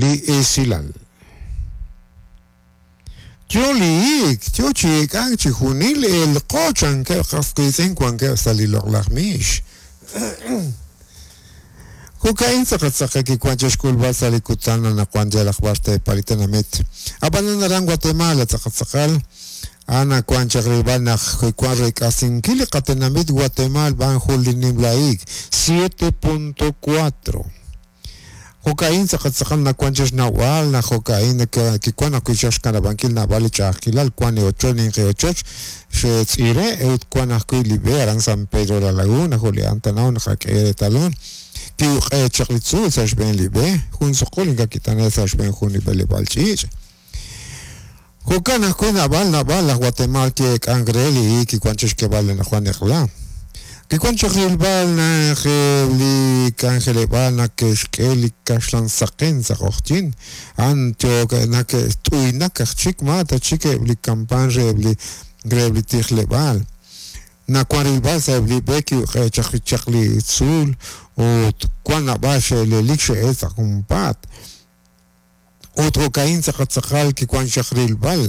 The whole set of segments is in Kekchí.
li esilal. Yo li hiik, yo chi eek'ank chi junil elqo chankeb' qas qiitz'in wankeb' sa' li loq'laj miix. Jo'ka'in tz'aqal tz'aqal kiwank chi xk'ulb'al sa' li kutan anaqwan yalaq b'ar xteepal li tenamit. Ab'anan aran Guatemala tz'aqal tz'aqal a'an nawank chaq rilb'al naq kiwank reek'asinkil li qatenamit Guatemaal b'an jun li nimla hiik, 7.4. Jo'ka'in tz'aqal tz'aqal nawank chi xnawb'al naq jo'ka'in kiwank ajwi' chaq xkanab'ankil naab'al li ch'a'ajkilal, wank li ochoch ninqi ochoch xe'tz'iire' ut wank ajwi' li b'e aran San Pedro La Laguna jo' li Antanao naqak'e reetalon ki'uq'e chaq li tzuul sa' xb'een li b'e, jun suqul ink'a' kit'ane' sa' xb'een jun li b'eleb'aal ch'iich'. Jo'kan ajwi' naab'al naab'al laj Guatemaal ki'eek'ank re li hiik kiwank chi xk'eeb'al anaqwan eq'la. Kiwank chaq rilb'al naq eb' li k'anjeleb'aal nake'xk'e li kaxlan saqen sa' q'oqyink, a'an yook nake't'uynak aj chik ma ta chik eb' li kampaan re eb' li re eb' li tijleb'aal. Nawank rilb'al sa' eb' li b'e ki'uq'e chaq chaq li tzuul ut wank naab'al xe'elelik xe'el sa' junpaat. Ut jo'ka'in tz'aqal tz'aqal kiwank chaq rilb'al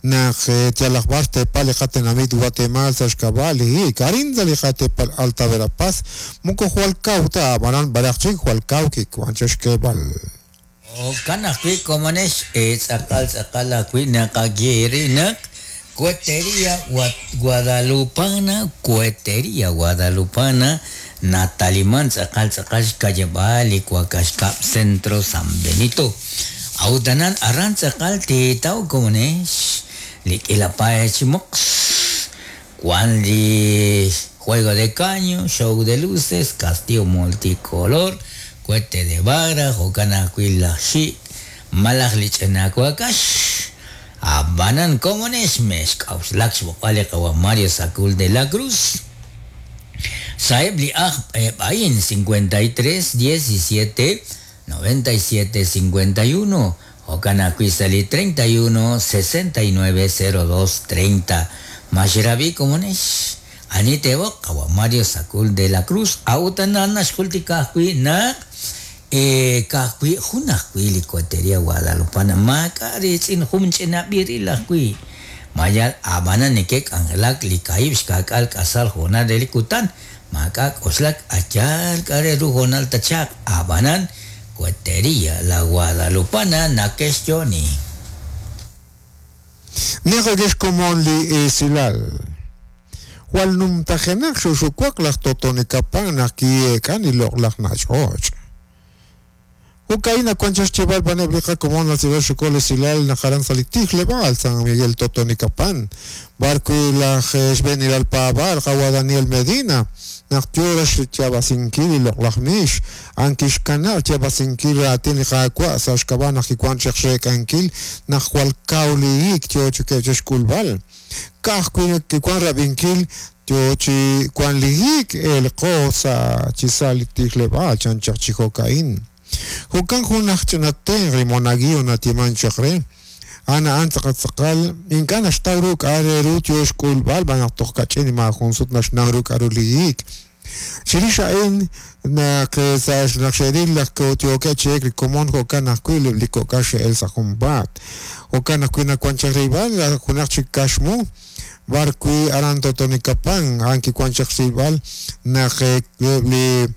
naq yalaq b'ar xteepal li qatenamit Watemaal sa' xk'ab'a' li hiik. Arin sa' li qateepal Alta Verapaz moko jwal kaw ta, ab'anan b'araq chik jwal kaw kiwank chaq xk'eeb'al. Jo'kan ajwi' komonex tz'aqal tz'aqal ajwi' naqaye eere naq Cohetería Guadalupana, Cohetería Guadalupana, nataliman tz'aqal tz'aqal xka'yab'aal li wakax kab' Centro San Benito. A'ut anan aran tz'aqal teetaw komonex li k'iila paay chi moqs, wan li juego de caño, show de luces, castillo multicolor, cohete de vara, jo'kan ajwi' laj xik' malaj li ch'ina wakax. Ab'anan komonex mexk'a'uxlak xb'oqb'al li qawa' Mario Sacul de la Cruz sa'eb' li ajb' eb' a'in, 53 17 97 51, jo'kan ajwi' sa' li 31 69 02 30. Ma xerab'i komonex? Ani teeb'oq qawa' Mario Sacul de la Cruz? A'ut anan naxjultika ajwi' naq Ka'ajwi' jun ajwi' li Cohetería Guadalupana maak'a' riitz'in jun ch'ina b'iril ajwi'. Ma yal ab'anan neke'k'anjelak li kaahib' xka'k'aal k'asal hoonal re li kutan, maak'a' k'oxlak a yaal k'a' re ru hoonal tachaq, ab'anan Cohetería La Guadalupana nake'xyo'oni. Naqak'e xkomon li esilal. Jwal numtajenaq xuxuwak laj Totonicapán naq ki'eek'an li loq'laj nach'och'. Jo'ka'in nawank chaq xyeeb'al b'an eb' li qakomon natz'iib'ak xukol esilal naq aran sa' li tijleb'aal San Miguel Totonicapán, b'ar wi' laj xb'eenilal paab'aal qawa' Daniel Medina, naq yo raj xyaab'asinkil li loq'laj miix, a'an kixkanab' xyaab'asinkil raatin li Qaawa' sa' xk'ab'a' naq kiwank chaq xreek'ankil naq jwal kaw li hiik yo chikeb' chi xk'ulb'al. Ka'ajwi' kiwank rab'inkil yo chi wank li hiik eelqo sa' chi sa' li tijleb'aal chan chaq chi jo'ka'in. Jo'kan jun aj ch'ina tenq' li monaguillo nayeemank chaq re, a'an a'an tz'aqal tz'aqal ink'a' naxtaw ru k'a' re ru yo xk'ulb'al xb'aan naq toj kach'in maajun sut naxnaw ru k'a'ru li hiik. Chirix a'in, naq sa' naq xe'ril naq yookeb' chi elk li komon jo'kan ajwi' li kok'al xe'elk sa' junpaat. Jo'kan ajwi' nawank chaq rilb'al junaq chik kaxmu b'ar wi' aran Totonicapán, a'an kiwank chaq rilb'al naq eb' li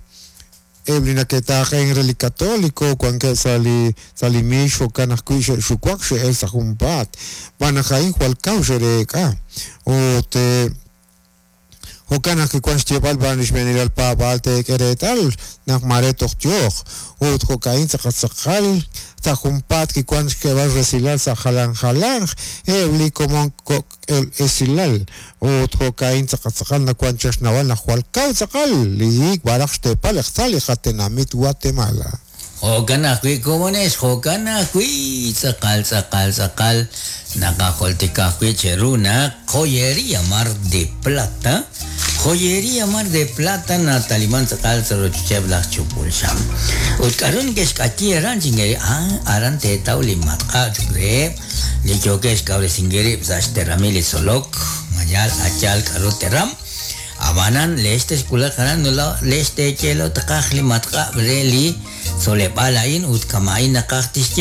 eb' li nake'taaqenk re li Católico wankeb' sa' li sa' li miix jo'kan ajwi' xe'xuwak xe'elk sa' junpaat xb'aan naq a'in jwal kaw xe'reek'a ut Jo'kan naq kiwank xyeeb'al b'an li xb'eenilal paab'aal teek'e reetal naq maare toj yooq. Ut jo'ka'in tz'aqal tz'aqal sa' junpaat kiwank xk'eeb'al resilal sa' jalan jalanq eb' li komon kok' esilal. Ut jo'ka'in tz'aqal tz'aqal nawank chaq xnawal naq jwal kaw tz'aqal li hiik b'araq xteepal eqtzal li qatenamit Guatemala. Jo'kan ajwi' komonex, jo'kan ajwi' tz'aqal tz'aqal tz'aqal naqajultika ajwi' cheru naq Joyería Mar de Plata, Joyería Mar de Plata nataliman tz'aqal sa' rochocheb' laj chupul xam. Ut k'aru neke'xk'ayi aran chinkeri, ah, aran teetaw li matq'a' cho'q reheb' li yookeb' xkawresinkil rib' sa' xteramil li tzolok, ma yaal a yaal k'aru teram. Ab'anan, leex texwulaq aran leex teeye lo tqaj li matq'ab' re li tzoleb'aal a'in ut kama'in naqaj tixye.